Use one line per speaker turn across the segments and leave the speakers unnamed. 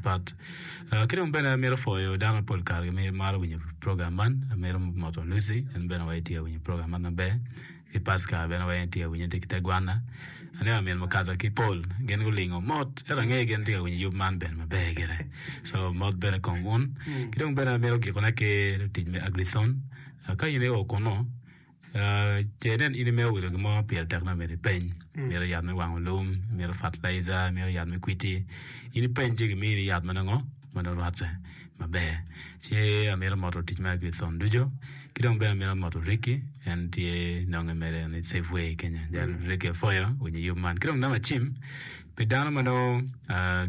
patpat. Ki dong bene amito pwoyo dano mapol kare gimaro winyo program man. Amito moto Lucy en bene wai tye ka winyo program man maber. Ki Pascal bene wai tye ka winyo tye ki te gwanna. Aneno min mukaza ki Paul gin gulingo mot ento angeyo gin tye ka winyo yub man bene maber gire. So mot bene kong wun. Ki dong bene amito gikone ki lutic me Agrithon. Ka in io kunu Ce inen in imito wilo gin mo pire tek nongo myero ipeny. Imito yat me wango lum, imito fertilizer, imito yat me kwiti. In ipeny ci gimini yat ma nongo ma nongo rwatte maber. Ci amito moto tic me Agrithon ducu ki dong bene amito moto Ricky en tye nonge mere en i Safeway kenya. Jal Ricky apwoyo winyo yub man. Ki dong namba cim pi dano ma nongo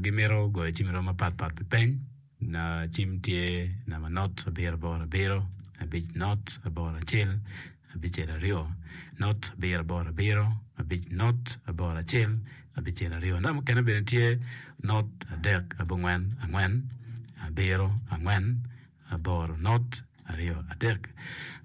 gimito goyo cim i rwom mapat pat pi peny. Cim tye namba not abiro aboro abiro abic not aboro acel abicel aryo not abiro aboro abiro abic not aboro acel abicel aryo. Namba mukene bene tye not adek abongwen angwen abiro angwen aboro not aryo adek.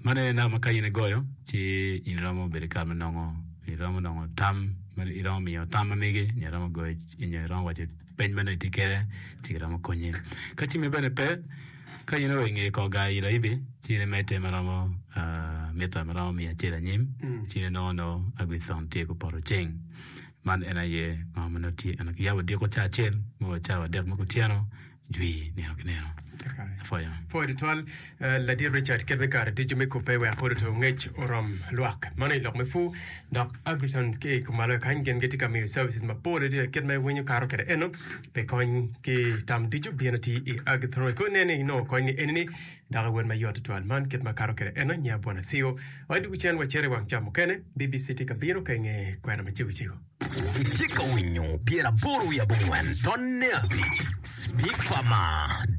Man aye namba ma ka in igoyo ci in iromo bedo ki kare me nongo iromo nongo tam iromo miyo tam ma megi nyo iromo goyo nyo iromo waco peny ma nongo itye kwede ci giromo konyi. Ka cimmi bene pe ka in oo inge kor gar i Laibi ci in imedde ma romo mita ma romo miya acel anyim ci in inongo nongo Agrithon tye gupoto ceng. Man en aye ngo ma nongo tye ento kiyabo odiko ca acel me wa cawa adek me kutyeno jwi nino ki nino. Apwoyo.
Pwoyo tutwal Ladit Richard kit me kare ducu me kubbe wek oruto ngec orom lwak. Mano i lok me pur dok Agriton ki i kumalo kany gin gitye ka miyo services mapol adada kit ma iwinyo kato kwede eno pi kony ki tam ducu bino tye i Agriton wek inen ni inongo kony ni enini dok iwot mayot tutwal. Man kit ma kato kwede eno nyinga Bwana Siu. Wadwogo cen wacito i wang ca mukene BBC tye ka bino ka inge kwena macego cego.
Itye ka winyo 85 tonne abic Speak Farmer.